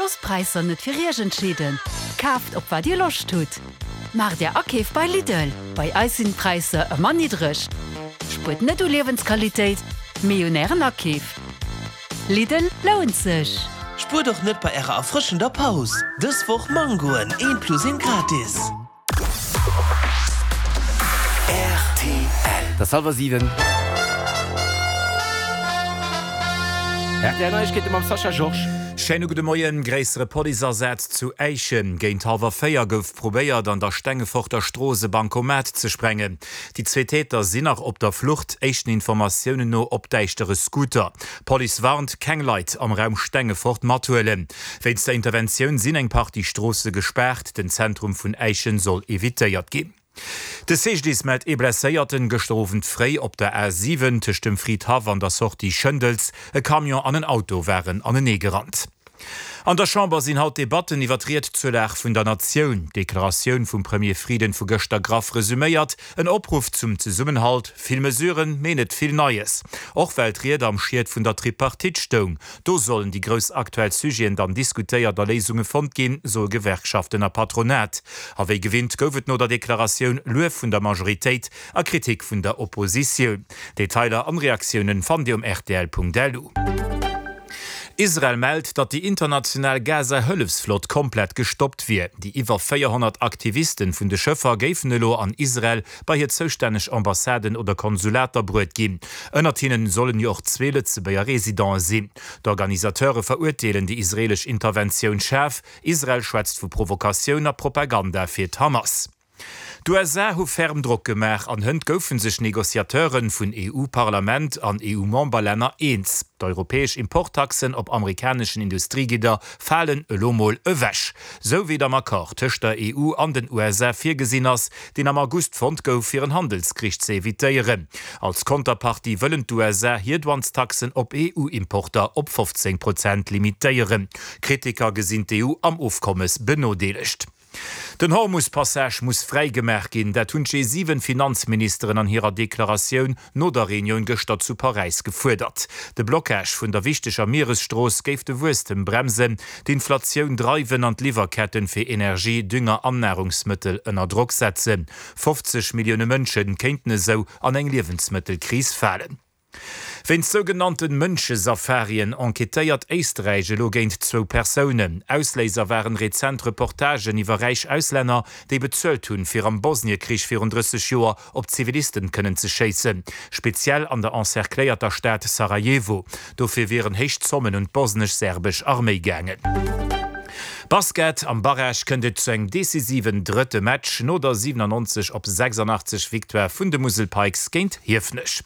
Loosst d'Präisser net fir Iech entscheeden, kaaft op wat Dir Loscht hutt. Maacht Är Akeef bei Lidl, bei eis sinn d'Präisser ëmmer niddreg. Spuert net u Liewensqualitéit, mee un Ären Akeef. Lidl lount sech! Spuert och net bei ärer erfrëschender Paus! Dës Woch Mangoen, eent plus eent gratis! Et ass hallwer 7. Rtl Neiegkeete mam Sascha Georges. Schéine gudde Moien. Gréissere Policeasaz zu Äischen. Géint hallwer 4 gouf probéiert, an der Stengeforter Strooss e Bancomat ze sprengen. Déi zwee Täter sinn nach op der Flucht, éischten Informatiounen no op däischtere Scooter. D'Police warnt, keng Leit am Raum Stengefort mathuelen. Wéinst der Interventioun sinn eng Partie Stroosse gespaart, den Zentrum vun Äischen soll evitéiert ginn. De CGDIS mellt ee Blesséierten gëschter Owend fréi op der A 7 tëscht dem Fridhaff an der Sortie Schëndels. E Camion an en Auto waren anenee gerannt. An der Chamber sinn haut Debatten iwwer d'Ried zur Lag vun der Natioun. D'Deklaratioun vum Premier Frieden vu gëschter graff resuméiert, en Opruff zum Zesummenhalt, vill Mesuren, mee net vill Neies. Och well d'Ried am Schiet vun der Tripartite stoung. Do sollen déi grouss aktuell Sujeten dann diskutéiert a Léisunge fonnt ginn, soe Gewerkschaften a Patronat. A wéi gewinnt gouf et no der Deklaratioun Luef vun der Majoritéit a Kritik vun der Oppositioun. Detailer an Reaktiounen fannt Dir um rtl.lu. Israel mellt, datt déi international Gaza-Hëllefsflott komplett gestoppt wier. Déi iwwer 400 Aktivisten vun de Schëffer géifen elo an Israel bei hir zoustänneg Ambassaden oder Konsulater bruet ginn. Ënnert hinnen sollen jo och zwee Lëtzebuerger Residente sinn. D'Organisateure verurteelen déi israelesch Interventioun schaarf. Israel schwätzt vu Provokatioun a Propaganda fir d'Hamas. D'USA hu ferm Drock gemaach an hënt goufe sech Negociateure vun EU-Parlament an EU-Memberlänner eens. D'europäesch Importtaxen op amerikaneschen Industriegidder falen elo mol ewech. Sou wéi et am Accord tëscht der EU an den USA virgesinn ass, deen am August fonnt gouf, fir en Handelskrich ze evitéieren. Als Konterpartie wëllen d'USA hir Douanestaxen op EU-Importer op 15 Prozent limitéieren. Kritiker gesinn d'EU am Ofkommes benodeelegt. Den Hormus-Passage muss fräi gemaach ginn, dat hunn d'G7-Finanzministeren an hirer Deklaratioun no der Reunioun gëschter zu Paräis gefuerdert. De Blockage vun der wichteger Mieresstrooss géif de Wuesstem bremsen, d'Inflatioun dreiwen an d'Liwwerketten fir Energie, Dünger an Narungsmëttel ënner Drock setzen. 50 Millioune Mënsche kéinten esou an eng Liewensmëttelkris falen. Wéinst sougenannten Mënschesafarien enquêtéiert Éisträich elo géint zwou Persounen. Ausléiser waren rezent Reportagen iwwer räich Auslänner, déi bezuelt hunn, fir am Bosniekrich virun 30 Joer op Zivilisten kënnen ze schéissen, speziell an der encercléierter Stad Sarajevo. Dofir wieren héich Zommen un d'bosnesch-serbesch Arméi gaangen. Basket, Am Barrage kënnt et zu engem decisiven drëtte Match no der 97 op 86 Victoire vun de Musel Pikes géint Hiefenech.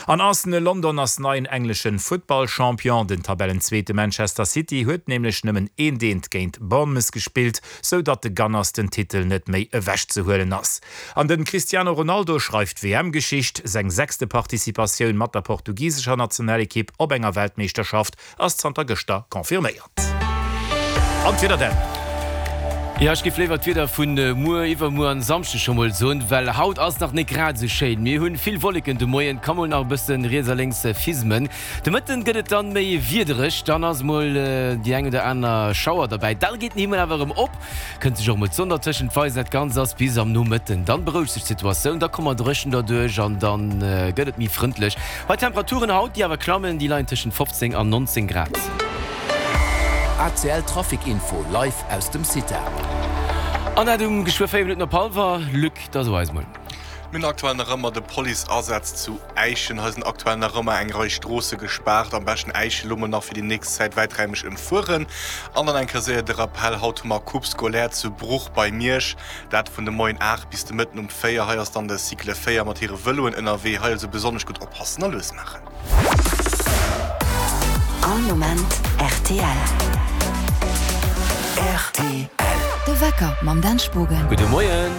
An Arsenal London ass neien engleschen Futtballchampion. Den Tabellenzweete Manchester City huet nämlech nëmmen eent eent géint Bournemouth gespillt, sou datt de Gunners den Titel net méi ewech ze huelen ass. An den Cristiano Ronaldo schreift WM-Geschicht. Seng sechste Participatioun mat der portugisescher Nationalekipp op enger Weltmeeschterschaft ass zanter gëschter confirméiert. An d'Wieder denn? Jo, ech géif léiwer d'Wieder vun muer, iwwermuer an Samschdeg scho mol soen, well haut ass nach net grad esou schéin. Mir hunn vill Wolleken de Moien, ka mol nach e bëssen riets a lénks fismen. De Mëtten gëtt et dann méi wiedereg, dann ass mol déi eng oder aner Schauer derbäi. Da geet den Himmel awer erëm op, kënnt sech och mol d'Sonn dertëschent weisen. Dat Ganzt ass bis am Nomëtten, dann berouegt sech d'Situatioun, da komme mer dréchen derduerch an dann gëtt et méi frëndlech. Bei Temperaturen haut, déi awer klammen, déi leien tëschent 15 an 19 Grad. ACL Trafic Info live aus dem CITA. An dat um geschwë 4 Minutten op hallwer. Luc, da so eis mol. Mir hunn aktuell nach ëmmer de Police-Asaz zu Äischen. Hei sinn aktuell nach ëmmer eng Rei Stroosse gespaart. Am beschten Äischen elo mol nach fir déi nächst Zäit wäiträimeg ëmfueren. An dann eng Kéier séier de Rappell, Haut hu mer Coupe scolaire zu Bruch bei Miersch. Dat vun de Moien 8 bis de Mëtten um 4. Hei ass dann de Cycle 4 mat hire Vëloen ënnerwee. Hei also besonnesch gutt oppassen a lues maachen. All Moment rtl. Rtl. De Wecker mam Dan Spogen. Gudde Moien.